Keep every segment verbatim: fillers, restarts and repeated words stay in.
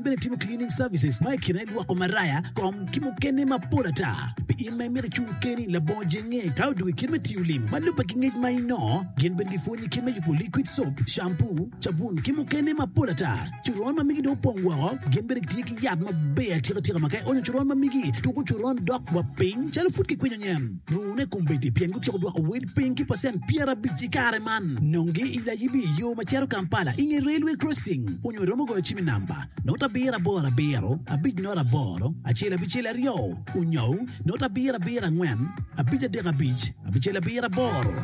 Bene timo cleaning services ma i kine lwoko maraya, kom ki mukene mapol ata. Pi in ma imito icung keni labongo jenge ka odwogo i kit me tiyo lim ma lubbe ki ngec ma inongo, gin bene gipwonyi kit me yubo liquid soap, shampoo, cabun ki mukene mapol ata. Coron ma migi dong opong woko, gin bene gitye ki yat maber atika tika ma ka ionyo coron ma migi, tuko coron dok wa piny calo pud kikwinyo nyen. Rune kombeddi pien gutyeko dwoko wel piny ki pacent pyerabic i kare man. Nongi i Layibi i yo ma cito Kampala i nge Railway Crossing onyo iromo goyo cim i namba not abiro aboro abiro abic not aboro acel abicel aryo onyo not abiro abiro angwen abic adek abic abicel abiro aboro.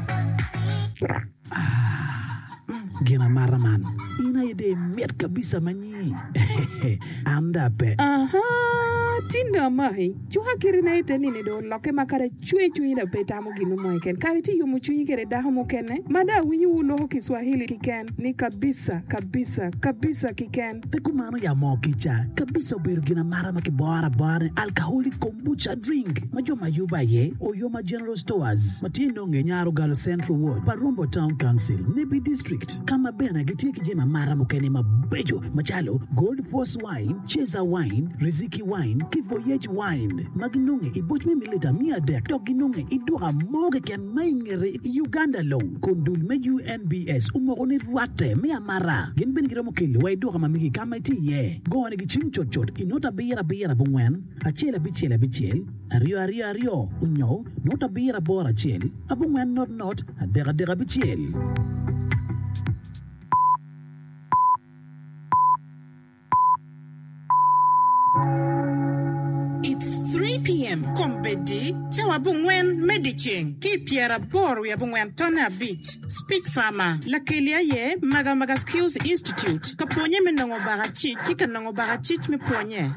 Ah, gin amata man, in aye dong imit kabisa manyi. An dong ape. Aha, tin dong amaki. Cuka kirina ite nini dong olokke ma kadi acwe cwinyi dong pe itamo gin mo keken. Kadi itye yomo cwinyi kede dako mukene ma dong awinyo wu loko Kiswahili kiken ni kabisa, kabisa, kabisa kiken. Pe kumano ya moo kica, kabisa obedo gin amata ma kiboro abora ni alcoholic kombucha drink ma jo ma yubo aye Oyoma General Stores ma tye nonge Nyarogalo Central Ward pa Rombo Town Council, Nebbi District ka ma bene gitye ki jami amata mukene mabeco macalo Gold Force Wine, Ceza Wine, Riziki Wine ki Voyage Wine ma ginonge i boc me mililita miya adek dok ginonge i duka mo keken ma i ngete i Uganda long kun dul me U N B S omoko ni rwatte me amata. Gin bene giromo kelo wa i duka ma megi ka ma itye iye. Gonigi cim cutcut i not abiro abiro abongwen acel abicel abicel aryo aryo aryo onyo not abiro aboro acel abongwen not not adek adek abicel. It's three P M Kombeddi, cawa abongwen me dyeceng ki i pyeraboro wiye abongwen tonne abic. Speech Farmer, Lakeli aye Magamaga Skills Institute, ka pwonye me nongo bakacic ki ka nongo bakacic me pwonye.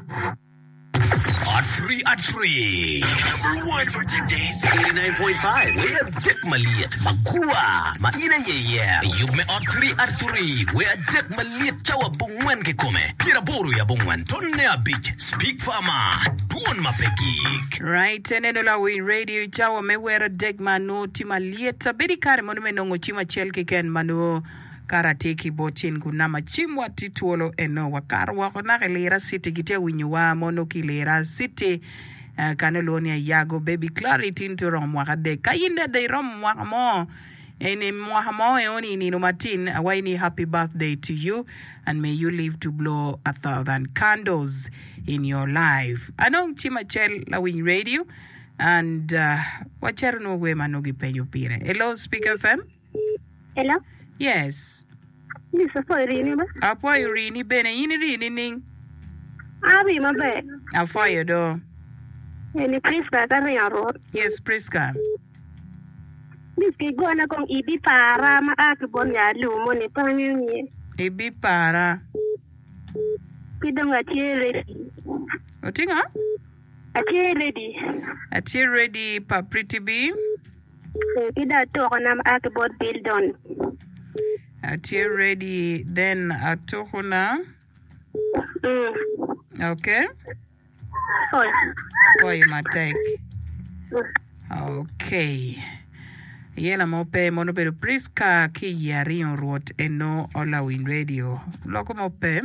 At three at three. Number one for today's eighty-nine point five. Wer adek malyet magwa ma in aye iye. Yub me ot three at three. Wer adek malyet cawa abongwen kikome. Pyeraboro i abongwen tonne abic. Speak Farmer. Dwon ma pe gik. Right, eneno lawiny radio i cawa me wer adek ma nongo tye malyet. Abedo i kare mono me nongo cim acel keken ma nongo kara tye ki bot cin kun nama cim wa tye twolo eno wakato woko naka i Lira City gitye winyowa mono ki Lira City uh, kano lwongo ni Ayago Baby Clarity tin tye oromo mwaka adek ka in dada iromo mwaka mo eni mwaka mo eoni i nino matin awaci ni happy birthday to you and may you live to blow a thousand candles in your life. Anong cim acel lawiny radio and uh, wacito nwo wer ma nongo gipenyo pire. Hello, Speak F M. Hello. Yes. Miss Afoy rini ba? Afoyo rini bene in rini ning? Abi maber. Afoyo do. Eni Priska ka ringo rot. Yes, Priska. Miss ki gona kong ibi para ma a ki bot nyalu moni pangi nye. Ibi para. Ki dong atye ready. Otinga? Atye ready. Atye ready pa Pretty B. Eh, ki dong atuko na ma a ki bot Bildon. Atye ready then atuko na. Mm. Okay. Oi. Afoyo matek. Okay. Yela mo pe mono bedo Priska ki i aringo rwot eno olawiny radio. Loko mo pe.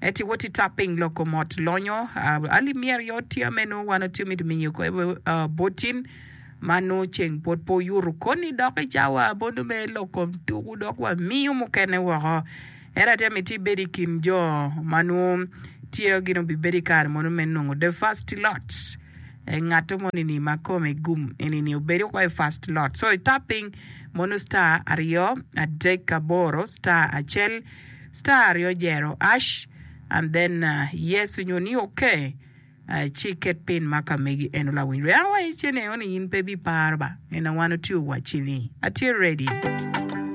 Eti woti tapping loko mot lonyo. Uh, ali mier yo tye meno wan otye mito minyo ko uh, botin mano ceng pot po yuru koni dok i cawa bono me loko tuku dok wa miyo mukene woko. Era te miti bedo i kin jo mano tye gino bibedo i kare mono me nongo the first lot. E ngato moni ni ma kome gum eni ni obedo ko i first lot. So i tapping mono star aryo adek aboro star acel star aryo jero hash and then uh, yes onyo ni okay. Uh, ci ket pin ma ka megi eno lawiny re awa icene oni in pe bi paro ba ena wan otio wacini atye ready.